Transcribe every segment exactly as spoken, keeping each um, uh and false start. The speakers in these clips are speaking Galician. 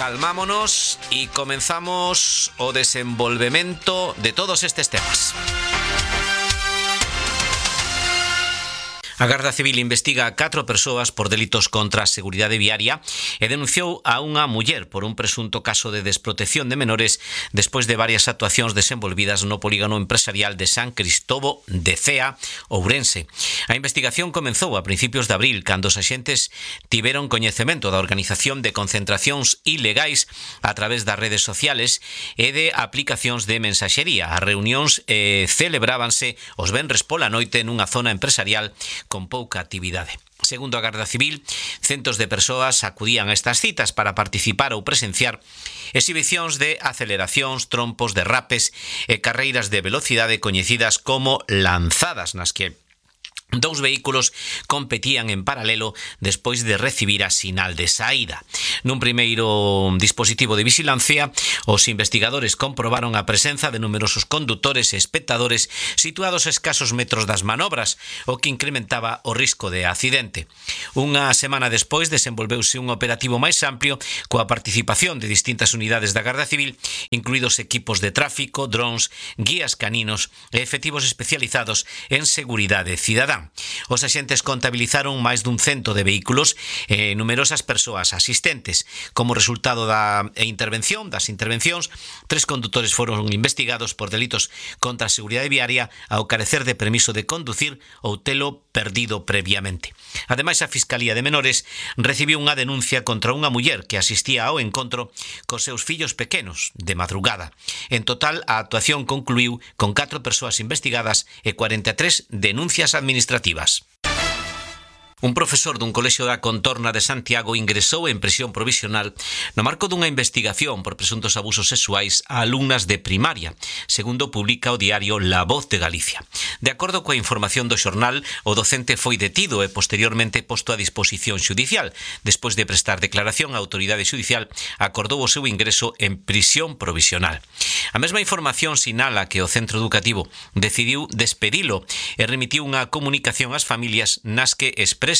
Calmámonos e comenzamos o desenvolvemento de todos estes temas. A Garda Civil investiga a catro persoas por delitos contra a seguridade viaria e denunciou a unha muller por un presunto caso de desprotección de menores despois de varias actuacións desenvolvidas no polígono empresarial de San Cristobo de Cea, Ourense. A investigación comenzou a principios de abril, cando os axentes tiveron coñecemento da organización de concentracións ilegais a través das redes sociales e de aplicacións de mensaxería. As reunións eh, celebrábanse os venres pola noite nunha zona empresarial con pouca actividade. Segundo a Garda Civil, centos de persoas acudían a estas citas para participar ou presenciar exhibicións de aceleracións, trompos, derrapes e carreiras de velocidade coñecidas como lanzadas, nas que dous vehículos competían en paralelo despois de recibir a sinal de saída. Nun primeiro dispositivo de vigilancia, os investigadores comprobaron a presenza de numerosos condutores e espectadores situados a escasos metros das manobras, o que incrementaba o risco de accidente. Unha semana despois desenvolveuse un operativo máis amplio coa participación de distintas unidades da Garda Civil, incluídos equipos de tráfico, drones, guías caninos e efectivos especializados en seguridade cidadá. Os axentes contabilizaron máis dun cento de vehículos e numerosas persoas asistentes. Como resultado da intervención, das intervencións, tres condutores foron investigados por delitos contra a seguridade viaria ao carecer de permiso de conducir ou telo perdido previamente. Ademais, a Fiscalía de Menores recibiu unha denuncia contra unha muller que asistía ao encontro cos seus fillos pequenos de madrugada. En total, a actuación concluiu con catro persoas investigadas e cuarenta e tres denuncias administrativas. Un profesor dun colexio da Contorna de Santiago ingresou en prisión provisional no marco dunha investigación por presuntos abusos sexuais a alumnas de primaria, segundo publica o diario La Voz de Galicia. De acordo coa información do xornal, o docente foi detido e posteriormente posto a disposición xudicial. Despois de prestar declaración, a autoridade xudicial acordou o seu ingreso en prisión provisional. A mesma información sinala que o centro educativo decidiu despedilo e remitiu unha comunicación ás familias nas que expresa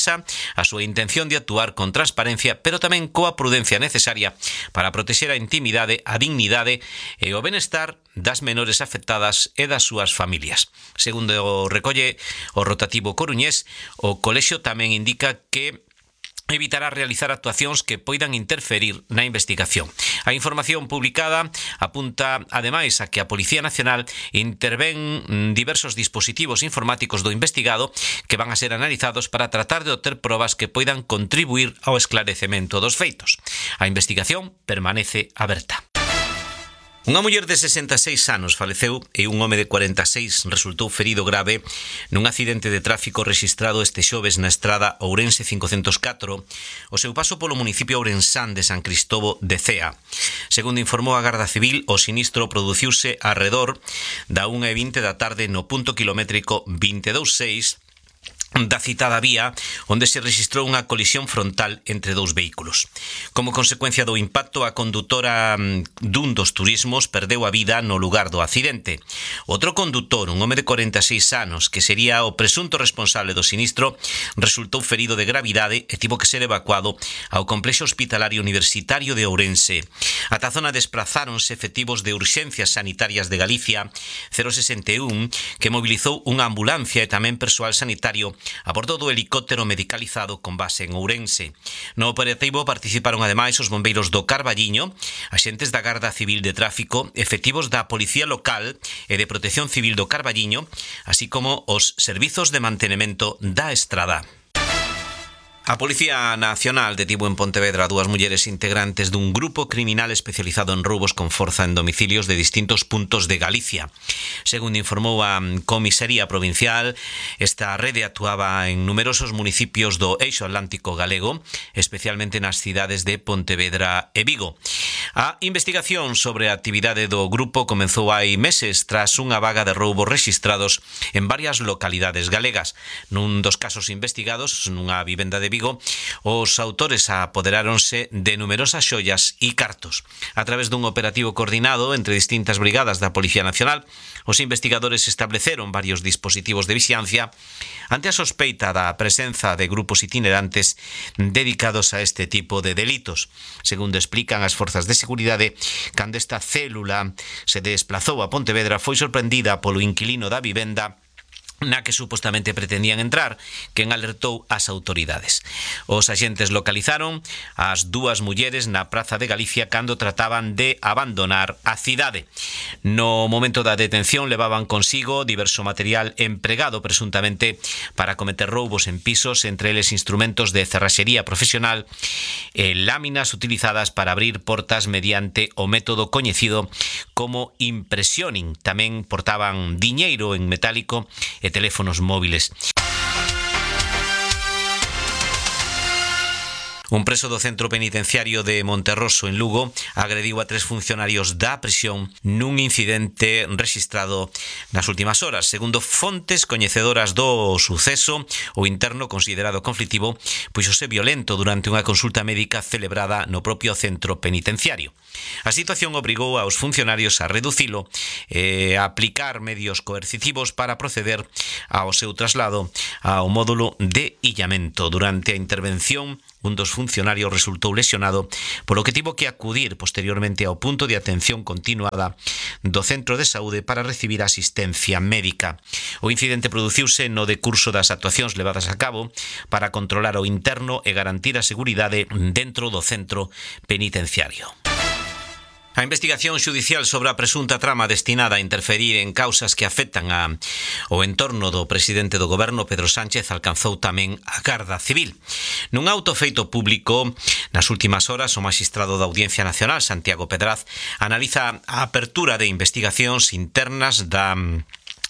a súa intención de actuar con transparencia, pero tamén coa prudencia necesaria para protexer a intimidade, a dignidade e o benestar das menores afectadas e das súas familias. Segundo o recolle o rotativo coruñés, o colexio tamén indica que evitará realizar actuacións que poidan interferir na investigación. A información publicada apunta, ademais, a que a Policía Nacional intervén diversos dispositivos informáticos do investigado que van a ser analizados para tratar de obter probas que poidan contribuir ao esclarecemento dos feitos. A investigación permanece aberta. Unha muller de sesenta e seis anos faleceu e un home de cuarenta e seis resultou ferido grave nun accidente de tráfico rexistrado este xoves na estrada Ourense cincocentos e catro, o seu paso polo municipio ourensán de San Cristobo de Cea. Segundo informou a Garda Civil, o sinistro produciuse arredor da unha e vinte da tarde no punto kilométrico vinte e dous seis da citada vía, onde se registrou unha colisión frontal entre dous vehículos. Como consecuencia do impacto, a condutora dun dos turismos perdeu a vida no lugar do accidente. Outro condutor, un home de cuarenta e seis anos, que sería o presunto responsable do sinistro, resultou ferido de gravidade e tivo que ser evacuado ao complexo hospitalario universitario de Ourense. Ata a zona desprazáronse efectivos de urxencias sanitarias de Galicia cero sesenta e un, que mobilizou unha ambulancia e tamén persoal sanitario a bordo do helicóptero medicalizado con base en Ourense. No operativo participaron ademais os bombeiros do Carballiño, axentes da Garda Civil de Tráfico, efectivos da Policía Local e de Protección Civil do Carballiño, así como os servizos de mantenemento da estrada. A Policía Nacional detivo en Pontevedra a dúas mulleres integrantes dun grupo criminal especializado en roubos con forza en domicilios de distintos puntos de Galicia. Segundo informou a Comisaría Provincial, esta rede actuaba en numerosos municipios do eixo atlántico galego, especialmente nas cidades de Pontevedra e Vigo. A investigación sobre a actividade do grupo comezou hai meses tras unha vaga de roubos rexistrados en varias localidades galegas. Nun dos casos investigados, nunha vivenda de Vigo, os autores apoderáronse de numerosas xoias e cartos. A través dun operativo coordinado entre distintas brigadas da Policía Nacional, os investigadores estableceron varios dispositivos de vixiancia ante a sospeita da presenza de grupos itinerantes dedicados a este tipo de delitos. Segundo explican as forzas de seguridade, cando esta célula se desplazou a Pontevedra foi sorprendida polo inquilino da vivenda na que supostamente pretendían entrar, quen alertou ás autoridades. Os axentes localizaron as dúas mulleres na Praza de Galicia cando trataban de abandonar a cidade. No momento da detención levaban consigo diverso material empregado presuntamente para cometer roubos en pisos, entre eles instrumentos de cerraxería profesional e láminas utilizadas para abrir portas mediante o método coñecido como impresioning. Tamén portaban diñeiro en metálico e teléfonos móviles. Un preso do centro penitenciario de Monterroso, en Lugo, agrediu a tres funcionarios da prisión nun incidente rexistrado nas últimas horas. Segundo fontes coñecedoras do suceso, o interno considerado conflitivo puxose violento durante unha consulta médica celebrada no propio centro penitenciario. A situación obrigou aos funcionarios a reducilo e a aplicar medios coercitivos para proceder ao seu traslado ao módulo de illamento. Durante a intervención, un dos funcionarios resultou lesionado, polo que tivo que acudir posteriormente ao punto de atención continuada do centro de saúde para recibir asistencia médica. O incidente produciuse no decurso das actuacións levadas a cabo para controlar o interno e garantir a seguridade dentro do centro penitenciario. A investigación xudicial sobre a presunta trama destinada a interferir en causas que afectan a, o entorno do presidente do goberno, Pedro Sánchez, alcanzou tamén a Garda Civil. Nun auto feito público, nas últimas horas, o magistrado da Audiencia Nacional, Santiago Pedraz, analiza a apertura de investigacións internas da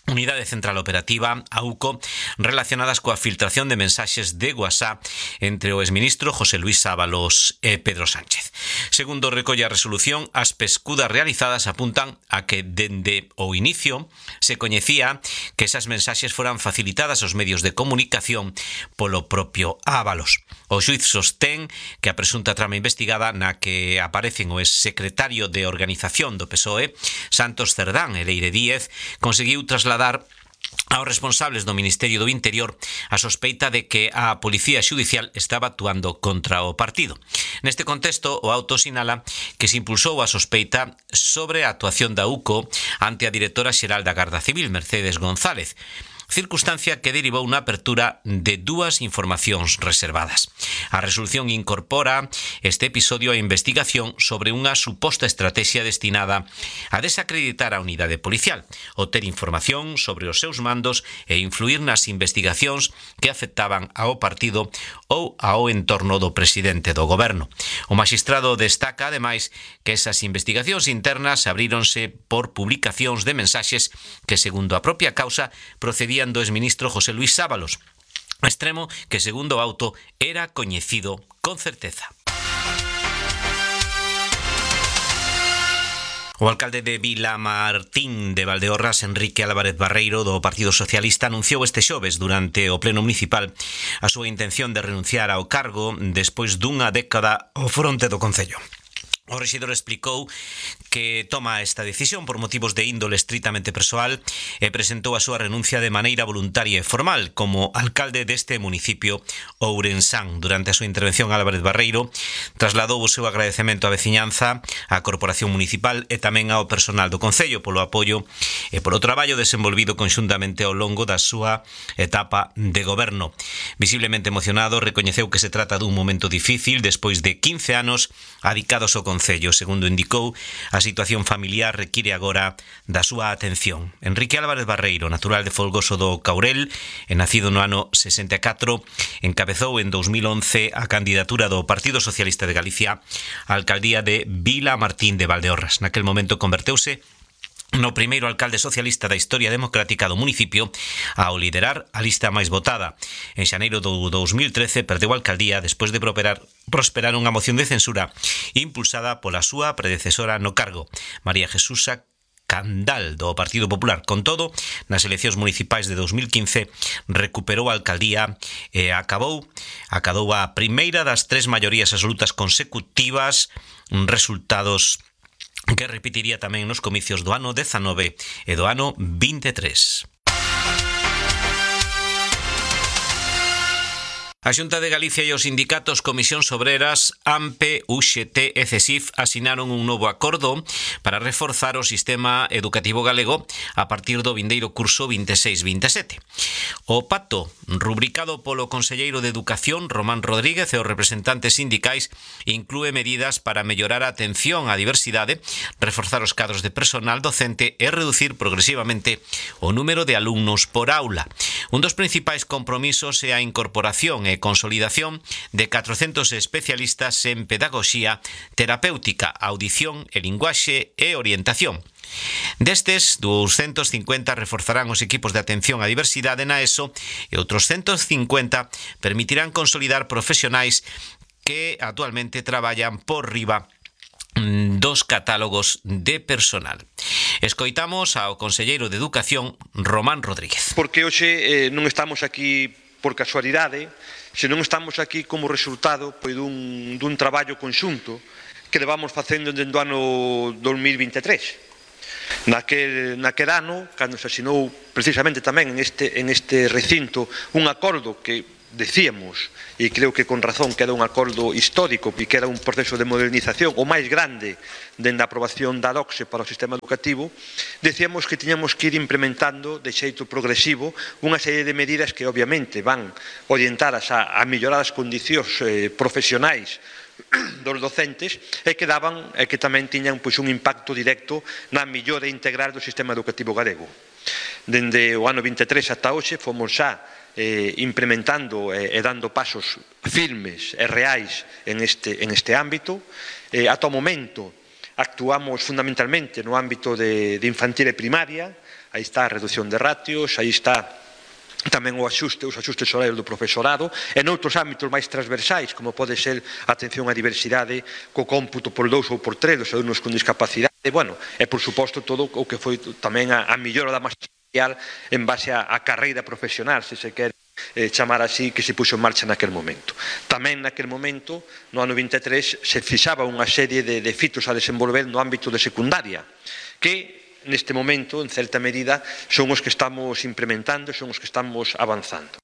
Unidade Central Operativa, A U C O, relacionadas coa filtración de mensaxes de WhatsApp entre o exministro José Luis Ábalos e Pedro Sánchez. Segundo recolle a resolución, as pescudas realizadas apuntan a que dende o inicio se coñecía que esas mensaxes foran facilitadas aos medios de comunicación polo propio Ábalos. O xuiz sostén que a presunta trama investigada na que aparecen o exsecretario de Organización do P S O E, Santos Cerdán e Leire Díez, conseguiu trasladar aos responsables do Ministerio do Interior a sospeita de que a Policía Xudicial estaba actuando contra o partido. Neste contexto, o auto sinala que se impulsou a sospeita sobre a actuación da U C O ante a directora xeral da Garda Civil, Mercedes González, circunstancia que derivou na apertura de dúas informacións reservadas. A resolución incorpora este episodio a investigación sobre unha suposta estrategia destinada a desacreditar a unidade policial, obter información sobre os seus mandos e influir nas investigacións que afectaban ao partido ou ao entorno do presidente do goberno. O magistrado destaca, ademais, que esas investigacións internas abríronse por publicacións de mensaxes que, segundo a propia causa, procedían do exministro José Luis Ábalos, extremo que, segundo o auto, era coñecido con certeza. O alcalde de Vilamartín de Valdeorras, Enrique Álvarez Barreiro, do Partido Socialista, anunciou este xoves durante o pleno municipal a súa intención de renunciar ao cargo despois dunha década ao fronte do concello. O rexedor explicou que toma esta decisión por motivos de índole estritamente persoal e presentou a súa renuncia de maneira voluntaria e formal como alcalde deste municipio ourensán. Durante a súa intervención, Álvarez Barreiro trasladou o seu agradecemento á veciñanza, á Corporación Municipal e tamén ao personal do Concello polo apoio e polo traballo desenvolvido conxuntamente ao longo da súa etapa de goberno. Visiblemente emocionado, recoñeceu que se trata dun momento difícil despois de quince anos adicados ao Concello. Segundo indicou, a situación familiar require agora da súa atención. Enrique Álvarez Barreiro, natural de Folgoso do Caurel e nacido no ano sesenta e catro, encabezou en dos mil once a candidatura do Partido Socialista de Galicia á alcaldía de Vilamartín de Valdeorras. Naquel momento converteuse no primeiro alcalde socialista da historia democrática do municipio ao liderar a lista máis votada. En xaneiro do dous mil trece perdeu a alcaldía despois de prosperar, prosperar unha moción de censura impulsada pola súa predecesora no cargo, María Jesúsa Candal, do Partido Popular. Con todo, nas eleccións municipais de dous mil quince recuperou a alcaldía e acabou, acadou a primeira das tres maiorías absolutas consecutivas, resultados que repetiría tamén nos comicios do ano dezanove e do ano vinte e tres. A Xunta de Galicia e os sindicatos Comisións Obreras, AMPE, U X T e CESIF asinaron un novo acordo para reforzar o sistema educativo galego a partir do vindeiro curso vinte e seis vinte e sete. O pacto, rubricado polo conselleiro de Educación, Román Rodríguez, e os representantes sindicais, inclúe medidas para mellorar a atención á diversidade, reforzar os cadros de personal docente e reducir progresivamente o número de alumnos por aula. Un dos principais compromisos é a incorporación e consolidación de catrocentos especialistas en pedagogía terapéutica, audición e linguaxe e orientación. Destes, doscientos cincuenta reforzarán os equipos de atención á diversidade na ESO e outros ciento cincuenta permitirán consolidar profesionais que actualmente traballan por riba dos catálogos de personal. Escoitamos ao conselleiro de Educación, Román Rodríguez. Porque hoxe eh, non estamos aquí por casualidade, senón estamos aquí como resultado pois, dun, dun traballo conxunto que levamos facendo dende o ano dos mil vinte e tres. Naquel, naquel ano, cando se asinou precisamente tamén en este, en este recinto un acordo que decíamos, e creo que con razón que era un acordo histórico e que era un proceso de modernización o máis grande dende a aprobación da LOCSE para o sistema educativo, decíamos que tiñamos que ir implementando de xeito progresivo unha serie de medidas que obviamente van orientadas a, a mellorar as condicións eh, profesionais dos docentes e que daban e que tamén tiñan pois, un impacto directo na mellora integral do sistema educativo galego. Dende o ano vinte e tres ata hoxe fomos xa eh, implementando e, e dando pasos firmes e reais en este, en este ámbito. Eh, ata o momento actuamos fundamentalmente no ámbito de, de infantil e primaria, aí está a reducción de ratios, aí está tamén o axuste, os axustes horarios do profesorado, e noutros ámbitos máis transversais, como pode ser a atención á diversidade co cómputo por dous ou por tres dos alumnos con discapacidade, e, bueno, e por suposto todo o que foi tamén a, a millora da masa salarial en base á carreira profesional, se se quere eh, chamar así, que se puxo en marcha naquel momento. Tamén naquel momento, no ano vinte e tres, se fixaba unha serie de, de fitos a desenvolver no ámbito de secundaria, que neste momento, en certa medida, son os que estamos implementando, son os que estamos avanzando.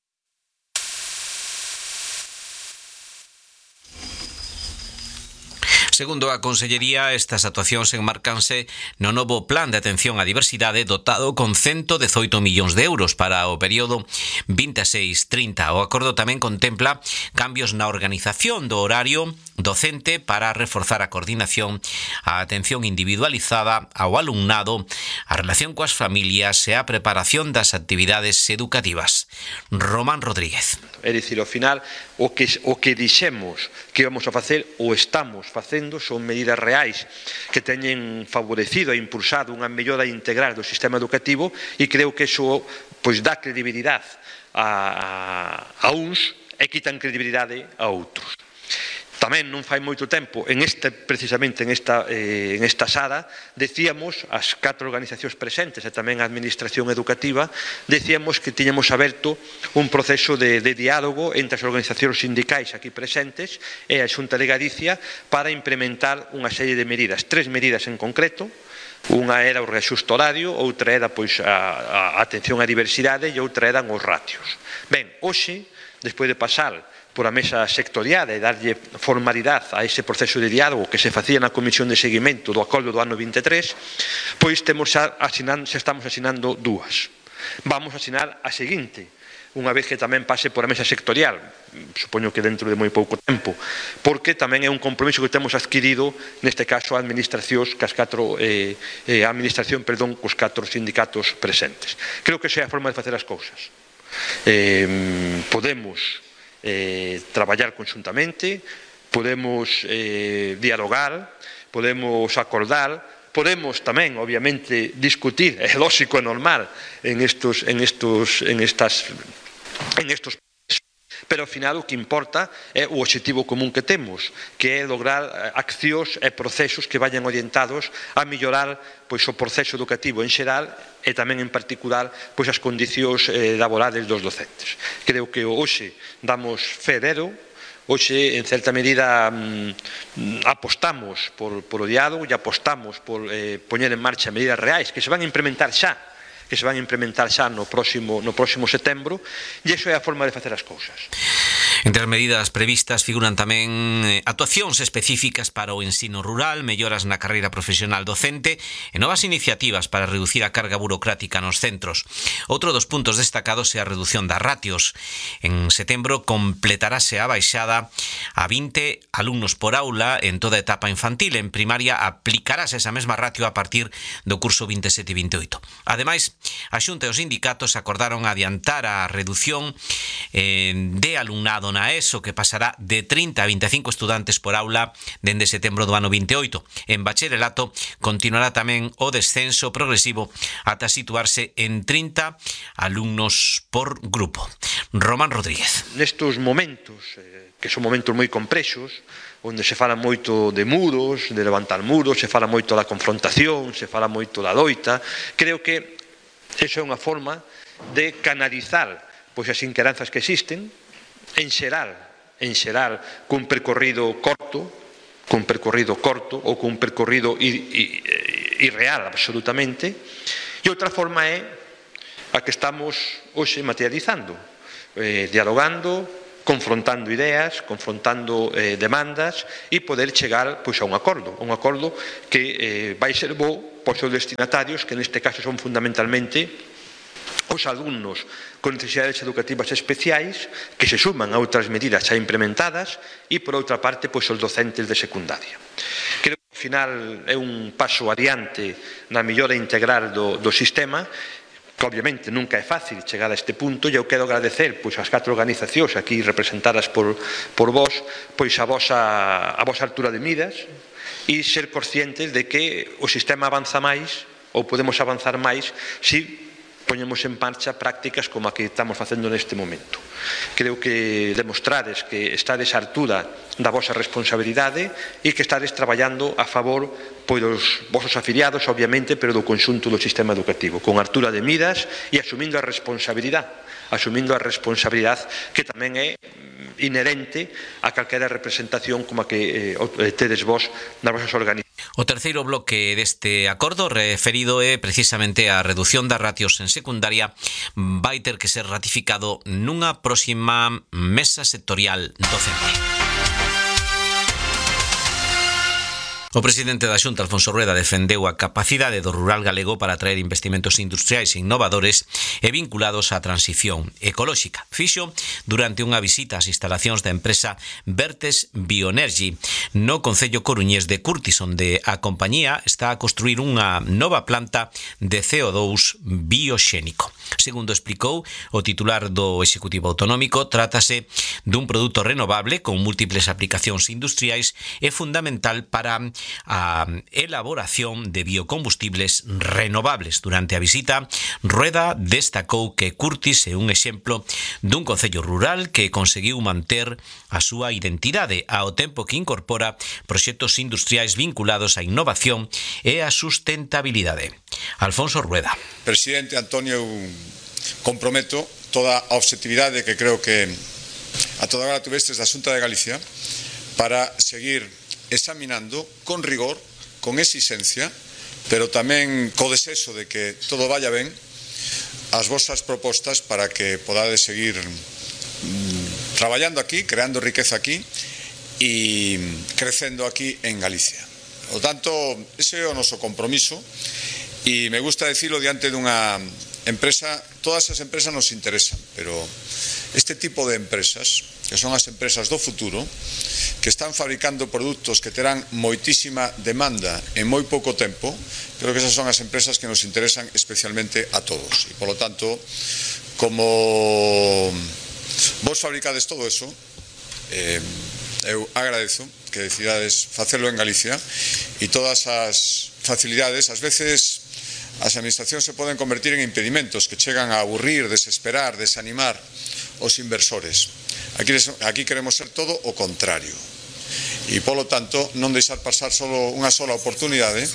Segundo a Consellería, estas actuacións enmarcanse no novo Plan de Atención á Diversidade dotado con ciento dezoito millóns de euros para o período vinte e seis trinta. O acordo tamén contempla cambios na organización do horario docente para reforzar a coordinación, a atención individualizada ao alumnado, a relación coas familias e a preparación das actividades educativas. Román Rodríguez. É dicir, ao final, o que, o que dixemos que íbamos a facer ou estamos facendo son medidas reais que teñen favorecido e impulsado unha mellora integral do sistema educativo e creo que iso pois, dá credibilidade a, a, a uns e quitan credibilidade a outros. Tamén non fai moito tempo, en este, precisamente en esta, eh, en esta sala, decíamos, as catro organizacións presentes e tamén a Administración Educativa, decíamos que tiñamos aberto un proceso de, de diálogo entre as organizacións sindicais aquí presentes e a Xunta de Galicia para implementar unha serie de medidas, tres medidas en concreto. Unha era o reaxuste horario, outra era pois, a, a atención á diversidade e outra eran os ratios. Ben, hoxe, despois de pasar por a mesa sectorial e darlle formalidade a ese proceso de diálogo que se facía na Comisión de Seguimento do acordo do ano vinte e tres, pois temos xa, asinando, xa estamos asinando dúas. Vamos a asinar a seguinte, unha vez que tamén pase por a mesa sectorial, supoño que dentro de moi pouco tempo, porque tamén é un compromiso que temos adquirido, neste caso, a administracións, cas catro, eh, eh, a administración, perdón, cos catro sindicatos presentes. Creo que esa é a forma de facer as cousas. Eh, podemos Eh, traballar conxuntamente, podemos eh, dialogar, podemos acordar, podemos tamén, obviamente, discutir, é lógico e normal, en estos, en estos, en estas, en estos pero ao final o que importa é o obxectivo común que temos, que é lograr accións e procesos que vayan orientados a mellorar pois, o proceso educativo en xeral e tamén en particular pois, as condicións eh, laborales dos docentes. Creo que hoxe damos fe dero, hoxe en certa medida mm, apostamos por, por o diálogo e apostamos por eh, poñer en marcha medidas reais que se van a implementar xa que se van a implementar xa no próximo, no próximo setembro, e iso é a forma de facer as cousas. Entre as medidas previstas figuran tamén actuacións específicas para o ensino rural, melloras na carreira profesional docente e novas iniciativas para reducir a carga burocrática nos centros. Outro dos puntos destacados é a reducción das ratios. En setembro completarase a baixada a vinte alumnos por aula en toda a etapa infantil. En primaria aplicarase esa mesma ratio a partir do curso vinte e sete vinte e oito. Ademais, a Xunta e os sindicatos acordaron adiantar a reducción eh, de alumnado na ESO, que pasará de trinta a vinte e cinco estudantes por aula dende setembro do ano vinte e oito. En bacharelato continuará tamén o descenso progresivo ata situarse en trinta alumnos por grupo. Román Rodríguez. Nestos momentos, eh, que son momentos moi complexos, onde se fala moito de muros, de levantar muros, se fala moito da confrontación, se fala moito da loita, creo que iso é unha forma de canalizar pois, as inquedanzas que existen, en xeral, en xeral, cun percorrido corto, cun percorrido corto ou cun percorrido irreal, absolutamente, e outra forma é a que estamos hoxe materializando, eh, dialogando, confrontando ideas, confrontando eh, demandas e poder chegar pois, a un acordo, un acordo que eh, vai ser bo por seus destinatarios, que neste caso son fundamentalmente os alumnos con necesidades educativas especiais que se suman a outras medidas xa implementadas e, por outra parte, pois, os docentes de secundaria. Creo que, ao final, é un paso adiante na mellora integral do, do sistema, que obviamente nunca é fácil chegar a este punto, e eu quero agradecer pois, as catro organizacións aquí representadas por, por vos pois, a, vosa, a vosa altura de miras e ser conscientes de que o sistema avanza máis ou podemos avanzar máis se poñemos en marcha prácticas como a que estamos facendo neste momento. Creo que demostrades que estades a altura da vosa responsabilidade e que estades traballando a favor pois, dos vosos afiliados, obviamente, pero do conxunto do sistema educativo, con altura de miras e asumindo a responsabilidade, asumindo a responsabilidade que tamén é inherente a calquera representación como a que eh, tedes vos nas vosas organizacións. O terceiro bloque deste acordo referido é precisamente a reducción das ratios en secundaria vai ter que ser ratificado nunha próxima mesa sectorial docente. O presidente da Xunta, Alfonso Rueda, defendeu a capacidade do rural galego para atraer investimentos industriais e innovadores e vinculados á transición ecolóxica. Fixo durante unha visita ás instalacións da empresa Vertes Bioenergy no concello coruñés de Curtis, onde a compañía está a construir unha nova planta de C O dous bioxénico. Segundo explicou o titular do Executivo Autonómico, trátase dun produto renovable con múltiples aplicacións industriais e fundamental para a elaboración de biocombustibles renovables. Durante a visita, Rueda destacou que Curtis é un exemplo dun concello rural que conseguiu manter a súa identidade ao tempo que incorpora proxectos industriais vinculados á innovación e á sustentabilidade. Alfonso Rueda. Presidente Antonio, eu comprometo toda a objetividade que creo que a toda hora tuvestes da Xunta de Galicia para seguir examinando con rigor, con exigencia, pero tamén co desexo de que todo vaya ben, as vosas propostas para que podades seguir mmm, traballando aquí, creando riqueza aquí e crecendo aquí en Galicia. Por tanto, ese é o noso compromiso e me gusta decirlo diante dunha empresa. Todas as empresas nos interesan, pero este tipo de empresas, que son as empresas do futuro, que están fabricando produtos que terán moitísima demanda en moi pouco tempo, creo que esas son as empresas que nos interesan especialmente a todos. E, polo tanto, como vos fabricades todo eso, eh, eu agradezo que decidades facelo en Galicia e todas as facilidades, ás veces as administracións se poden convertir en impedimentos que chegan a aburrir, desesperar, desanimar os inversores. Aquí, aquí queremos ser todo o contrario. E, polo tanto, non deixar pasar solo unha sola oportunidade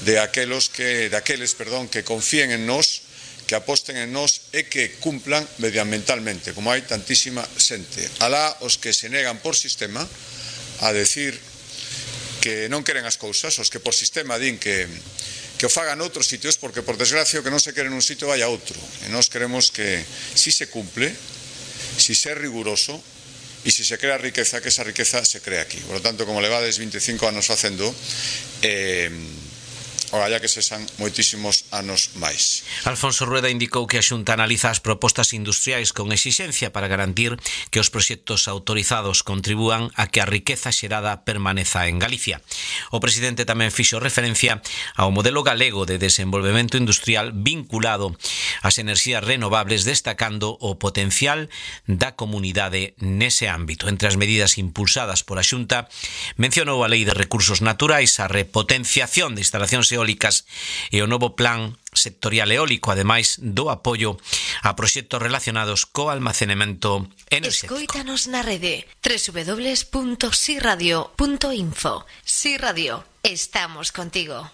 de aqueles que, de aqueles, perdón, que confíen en nós, que aposten en nós e que cumplan medioambientalmente, como hai tantísima xente. Alá os que se negan por sistema a decir que non queren as cousas, os que por sistema din que, que o fagan outros sitios, porque por desgracia o que non se quere nun sitio vai a outro. E nós queremos que si se cumple, si se é riguroso, e se se crea riqueza, que esa riqueza se crea aquí. Por lo tanto, como levades veinticinco anos facendo, eh, Ogalla que sexan moitísimos anos máis. Alfonso Rueda indicou que a Xunta analiza as propostas industriais con exixencia para garantir que os proxectos autorizados contribúan a que a riqueza xerada permaneza en Galicia. O presidente tamén fixo referencia ao modelo galego de desenvolvemento industrial vinculado ás enerxías renovables, destacando o potencial da comunidade nese ámbito. Entre as medidas impulsadas por a Xunta, mencionou a Lei de Recursos Naturais, a repotenciación de instalacións eólicas e o novo plan sectorial eólico, ademais do apoio a proxectos relacionados co almacenamento enerxético. Escoítanos na rede doble u doble u doble u punto si radio punto info. Si Radio, estamos contigo.